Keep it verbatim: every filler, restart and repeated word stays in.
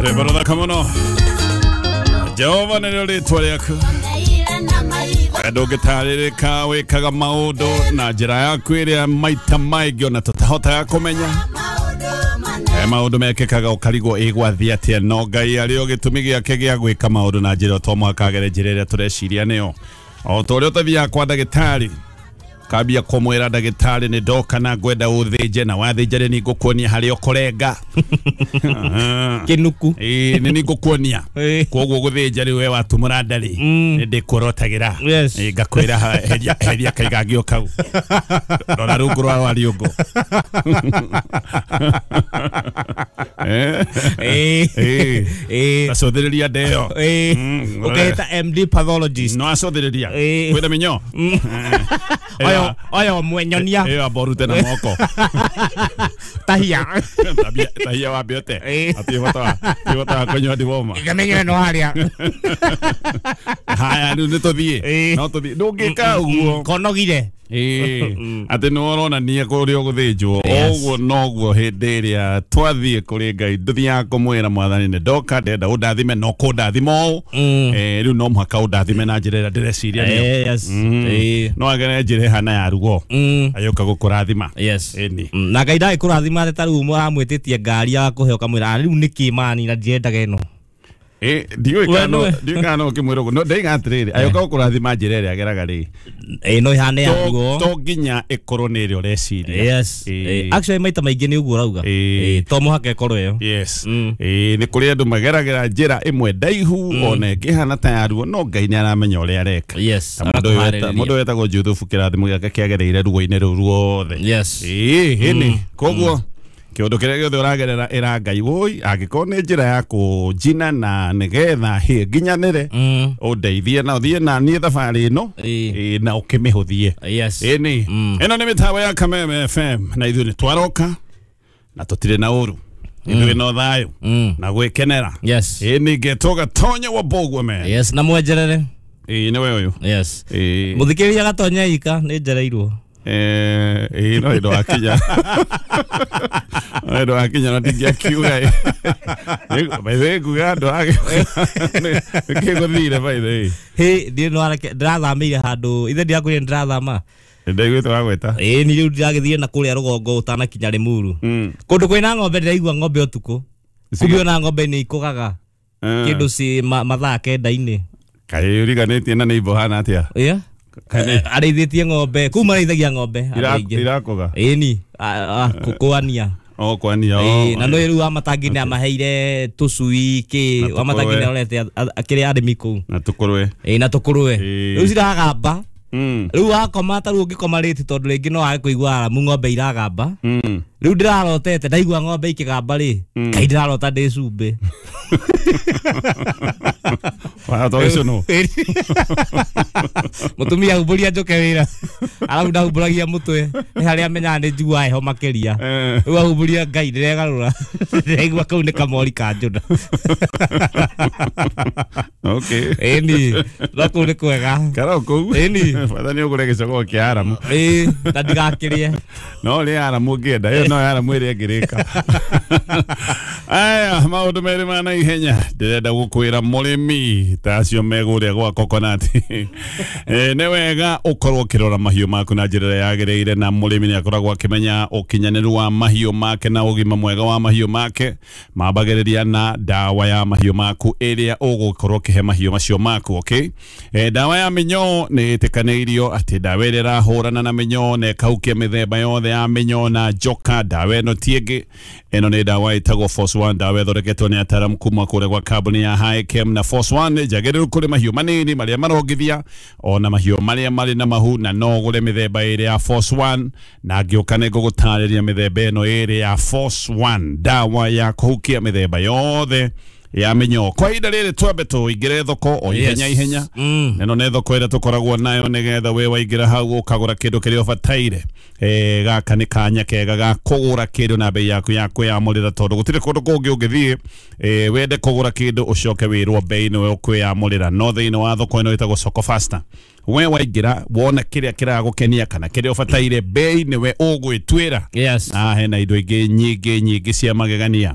Rwĩmbo rũthaka mũno. Jehova nĩrĩo rĩtwa rĩaku. Ndũngĩtarĩrĩka wĩkaga maũndũ na njĩra yaku ĩrĩa maita maingĩ ona tũtahotaga kũmenya. Maũndũ mekĩkaga ũkarigwo ĩgwathiĩ atĩa, no Ngai arĩ o gĩtũmi gĩake gĩa gwĩka maũndũ na njĩra to mũhaka agere njĩra ĩrĩa tũreciria nĩyo. O ta ũrĩa ũtathiaga kwa ndagĩtarĩ kambia kũmwĩra ndagĩtarĩ nĩ ndoka na ngwenda ũthĩnje, na wathĩnja rĩ nĩ ngũkuonia harĩa ũkũrenga. Kĩnuku. Ĩĩ nĩ nĩ ngũkuonia. Kwoguo gũthĩnja rĩu we watumũra nda rĩ nĩ ndĩkuorotagĩra. Ĩĩ ngakwĩra heria heria kaigangio kau. Rora rungu rwa rwariũngũ. Ĩĩ. Ĩĩ. Acũthĩrĩria nda ĩyo. Ĩĩ. Ũkehĩta M D pathologist. No acũthĩrĩria. Kwĩna mĩnyoo. Oyo oyo mwenyonia. Ĩyo amba ũrute na moko. Tahia. Tahia wambe ũte. Hatirĩ bata wa hatirĩ bata wa kũnyua ndiboma. Ngamenye no harĩa. Haya rĩu nĩ tũthiĩ. No tũthiĩ. Ndũngĩka ũguo. Konogire. Ĩĩ. Atĩ nĩ ũronania kũrĩa ũgũthĩnjwo. Ũguo noguo hĩndĩ ĩrĩa twathiĩ kũrĩ Ngai ndũthiaga kũmwĩra mwathani nĩ ndoka ndĩrenda ũndathime no kũndathima ũũ. Rĩu no mũhaka ũndathime na njĩra ĩrĩa ndĩreciria nĩyo. No agere njĩra ĩhana ya rugo. Agĩũka gũkũrathima. Ĩni. Na Ngai ndagĩkũrathima atĩ ta rĩu mũramwĩtĩtie ngari ya kũhe ũkamwĩra rĩu nĩkĩ mani na ndirendaga ĩno. Eh, ndiũĩ kana ndiũĩ kana no ũkĩmwĩra ũguo. No ndaiga atĩrĩrĩ, agĩũka gũkũrathima njĩra ĩrĩa ageraga rĩ. Ĩĩ no ĩhane ya rugo. To nginya ĩkorwo nĩ ĩrĩa ũreciria. Yes. Actually maita maingĩ nĩ ũguo ũrauga. Ĩĩ to mũhaka ĩkorwo ĩyo. Yes. Ĩĩ nĩ kũrĩ andũ mageragĩra njĩra ĩmwe ndaihu ona ĩngĩhana ta ya ruo, no Ngai nĩ aramenya ũrĩa areka. Yes. Mũndũ wetagwo Juthubu kĩrathimo gĩake kĩagereire ruo-inĩ rũu ruothe. Yes. Ĩĩ ĩni. Koguo kĩũndũ kĩrĩa gĩothe ũragerera ĩra Ngai woi angĩkorwo nĩ njĩra ya kũnjina na nĩgetha hĩ nginyanĩre ũndeithie na ũthiĩ na niĩ thabarĩ ĩno na ũkĩmĩhũthie. Ĩni. Ĩno nĩ mĩtambo ya Kameme F M na ithuĩ nĩ twaroka na tũtirĩ na ũru. Ithuĩ no thayũ na gwĩkenera. Ĩni ngetwo Gatonya wa Mbũguo man. Yes, na mwenjerere. Ĩĩ nĩwe ũyũ. Yes. Mũthikĩrĩria Gatonya ika nĩ njereirwo. Eh, eh, no ndo akinya. No akinya na ndingiakiuga. By the way, nguga ndo age. Nĩ gũthire by the way. Hĩ, ndiĩ no areke ndĩrathamĩire handũ. Ithe ndiakwĩrire ndĩrathama. Ndaiguĩte wagwĩta. Ĩĩ ni rĩu ndĩragĩthiĩ na kũrĩa rũgongo ũtanakinya Limuru. Kũndũ kwĩna ng'ombe ndĩraigua ng'ombe ũtukũ. Kumbe ona ng'ombe nĩ ikũgaga. Kĩndũ ci mathaa kenda-inĩ. Kaĩ ũriganĩtie na nĩ imbo hana atĩa? Yeah. Arĩithĩtie ng'ombe kũu marĩithagia ng'ombe irakũga. Ĩni kũania. O kwania. Na no rĩu Wamatangi nĩ amaheire tũcui kĩ Wamatangi nĩ arorete kĩrĩa arĩmi kũu. Na tũkũrwe. Ĩĩ na tũkũrwe. Rĩu ciragamba. Rĩu wakoma ta rĩu ũngĩkoma rĩti tondũ rĩngĩ no wage kũigua aramu ng'ombe iragamba. Rĩu ndĩrarotete ndaigua ng'ombe ikĩgamba rĩ Ngai ndĩrarota ndĩ cumbĩ. Warota no. Mũtumia humbũria njũke wĩra. Arabu ndahumbũragia mũtwe nĩ harĩa amenyaga nĩ njiguaga heho makĩria. Rĩu ahumbũria Ngai ndĩregarũra. Ndĩraigua kau nĩ kamori ka njũna. Okay. Ĩni no kũu nĩ kwega. Kara kũu. Ĩni. Bata nĩ ũgũre gĩcogoo kĩa aramu. Ĩĩ na ndigakĩrĩe. No rĩ aramu ũngĩenda ĩyo no aramu ĩrĩa ĩngĩrĩka. Aya maũndũ merĩ ma naihenya ndĩrenda gũkwĩra mũrĩmi ta acio megũrĩa gwa coconut. Eh, nĩ wega ũkorwo ũkĩrora mahiũ maku na njĩra ĩrĩa yagĩrĩire, na mũrĩmi nĩ akoragwo akĩmenya ũkinyanĩru wa mahiũ make na ũgima mwega wa mahiũ make. Mambagĩrĩria na ndawa ya mahiũ maku ĩrĩa ũgũkorwo ũkĩhe mahiũ macio maku. Okay? Eh, ndawa ya mĩnyoo nĩ ĩtĩkanĩirio atĩ ndawa ĩrĩa ĩrahũrana na mĩnyoo na ĩkahukia mĩthemba yothe ya mĩnyoo na njoka, ndawa ĩno ti ĩngĩ. Ĩno nĩ ndawa ĩtagwo Force One, ndawa ĩthondeketwo nĩ ataaramu kuma kũrĩa gwa kambuni ya Hikem. Na Force One njagĩrĩru kũrĩ mahiũ manini marĩa marongithia ona mahiũ marĩa marĩ na mahu, na no ũgũre mĩthemba ĩrĩ ya Force One, na ngĩũka nĩ ngũgũtarĩria mĩthemba ĩno ĩrĩ ya Force One, ndawa ya kũhukia mĩthemba yothe ya mĩnyoo. Kwa ihinda rĩrĩ twambe tũingĩre thoko o ihenya ihenya. Ĩno nĩ thoko ĩrĩa tũkoragwo nayo nĩgetha we waingĩra hau ũkagũra kĩndũ kĩrĩa ũbataire. Eh, gaka nĩ kanya kega ga kũgũra kĩndũ na bei yaku ya kwĩyamũrĩra, tondũ gũtirĩ kũndũ kũngĩ ũngĩthiĩ eh, wende kũgũra kĩndũ ũcoke wĩrwo bei nĩwe ũkwĩyamũrĩra. No thĩinĩ wa thoko ĩno ĩtagwo Soko Faster, we waingĩra wona kĩrĩa kĩragũkenia kana kĩrĩa ũbataire, bei nĩwe ũgwĩtuĩra. Yes. Na hena indo ingĩ nyingĩ nyingĩ cia magegania.